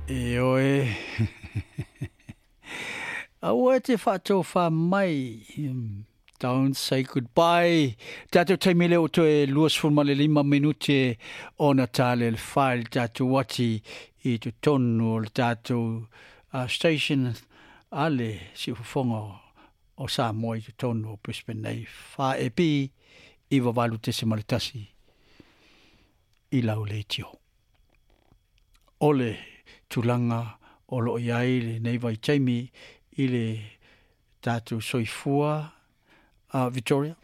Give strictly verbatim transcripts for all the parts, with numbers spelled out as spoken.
E oe. Aua e te whaatōwha mai. Don't say goodbye. Tātou taimi leo toe luasefulu ma le lima minute ona tāle le wha le tātou wati i te tonu o le tātou uh, station a le siufofoga o Samoa i te tonu o Brisbane nei. Wha e pi i wawalu tese ma le tasi i lau leitio. O le tulaga o loo i ai lenei vaitaimi i le tatou soifua uh, Victoria.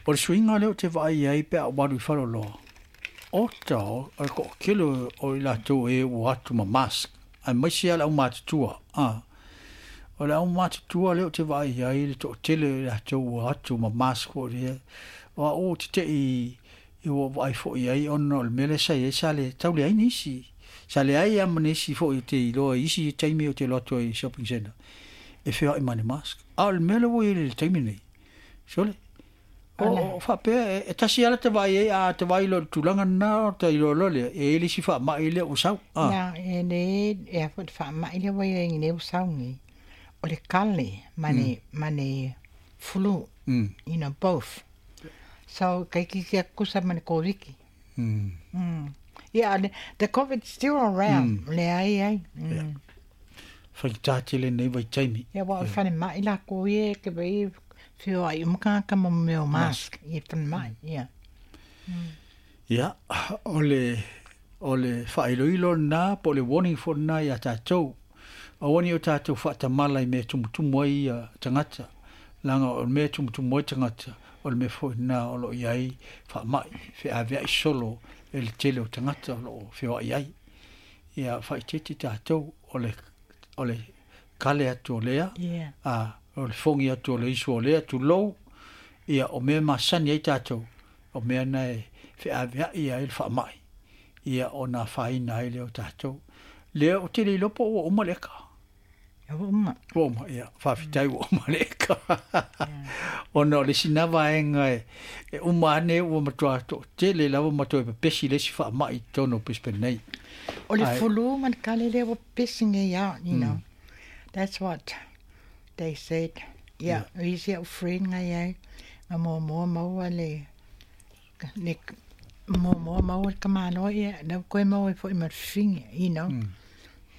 O le suiga lea ou te vaai ai pe a ou alu i faleoloa. Ota o le toʻatele o i latou e ua atu ma mask. Aemaise a le aumatutua. Ah. O le aumatutua lea ou te vaai ai le toʻatele o i latou ua atu ma mask foi lea. O a'u ou te teʻi i ua vaai foi ai ona o le mea lea sa iai sa le tau leai nisi. Sa leai lava ma nisi foi ou te iloa i isi taimi ou te alu atu ai i shopping centre e feoaʻi ma le mask. A o le mea lea ua iai i le taimi nei. Sole. O, o faapea, e tasi lava lata vaai ai, a ta vaai loa i le tulaga lena, ona ta iloa loa lea, e i ai le isi faamai lea ua sau. Ah. Ia, e le, e a foi le faamai lea ua iai nei ua sau nei, o le kale ma le, ma le flu, you know, both. So, kaikiki atu kusa ma le Koviki. Mm. Mm. Yeah, the COVID still around. Mm. Leai ai. Mm. Yeah. Whaitā tele nei vaitaimi. Ia, wa o le falemai lakou ia e ke wei feoai uma tagata ma mea o mask i falemai. Ia. Ia, o le, o le faailoilo lena po o le warning foi lena iā tatou. Aua ne i o tatou faatamala i mea e tumutumu ai ia tagata. Leaga o le mea e tumutumu ai tagata, o le mea foi lena o loo i ai faamai, feaveai solo e le tele o tagata o loo feoai ai. Ia faaeteete tatou o le, o le kale atu o lea, Yeah. a, o le fogi atu o le isu o lea, tulou, ia o mea masani ai tatou, o mea na e feaveai ai le faamai, ia ona afaina ai lea o tatou. Lea ou te le iloa po o ua uma le eka. Ua uma. Ua uma, ia, faafetai ua uma le eka. Ona o le isi na vaega e, e uma ane ua matua toatele lava ma toe pepesi le isi faamai i totonu o Brisbane nei. O le Ae. flu ma le kale lea ua pepesi nei lava, you know. That's what they said. Ia, o isi a'u friend nga iai, na muamua maua le, le muamua maua le tamāloa, ia, lea ua toe maua ai foi ma le fafine, you know.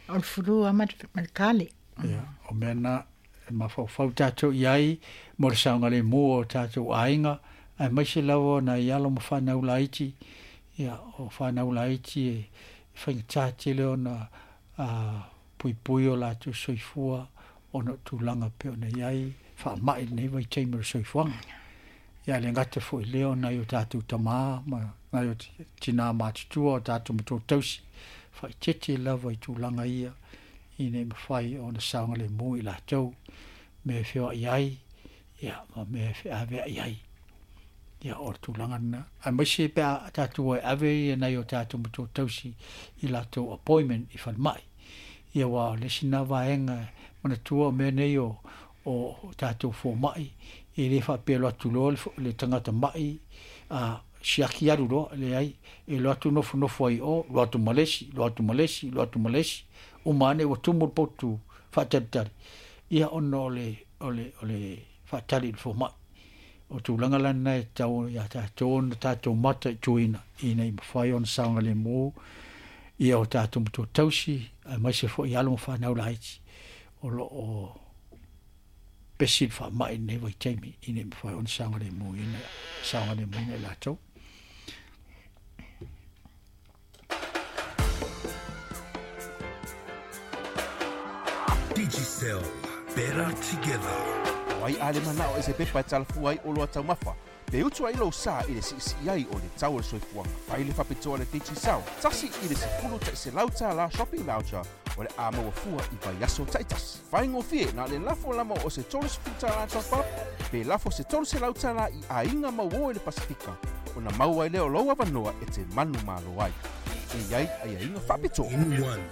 O le flu lava ma le, ma le kale. Ia, o mea na e mafaufau tatou i ai mo le saogalemu o tatou aiga, aemaise lava o nai alo ma fanau laiti. Ia, o fanau laiti e faigata tele ona a, puipui o latou soifua ona o tulaga pei ona i ai faamai lenei vaitaimi o le soifuaga. Ia, e le gata foi lea o nai o tatou tamā ma nai o tinā matutua o tatou matua tausi, faaeteete lava i tulaga ia ina ia mafai ona saogalemu i latou mea e feoai ai, ia, ma mea e feaveai ai. Ia, o le tulaga lena. Aemaise pe a tatou o e ave ia nai o tatou matua tausi i latou appointment i falemai. Ia, aua o le isi lena vaega e manatua o mea nei o, o tatou fomai, e le faapea e alu atu loa le, le tagata mai, a, siaki alu loa, leai, e alu atu nofonofo ai i o, alu atu ma le isi, alu atu ma le isi, alu atu ma le isi, uma ane ua tumu le potu faatalitali, ia ona o le, o le, o le faatali i le fomai. O tulaga la lena e tatau ia tatou ona tatou mataituina ina ia mafai ona saogalemu ia o tatou matua tausi, aemaise foi alo ma fanau laiti o loo pepesi le faamai i lenei vaitaimi ina ia mafai ona saogalemuina, saogalemuina i latou. Digicel, better together. O ai a le manao e se pepa e talafua ai oloa taumafa, pe utu ai lou sa i le siisii ai o le tau o le soifuaga. Fai le faapitoa le Digicel, tasi i le sefulu ta'iselau tālā shopping voucher o le a maua fua i vaiaso ta'itasi. Faigofie na o le lafo lava o se tolu sefulu tālā top up, pe lafo se tolu selau tālā i aiga mauō i le Pasifika, ona maua ai lea o lou avanoa e te manumalo ai. E i ai aiaiga faapitoa. In one.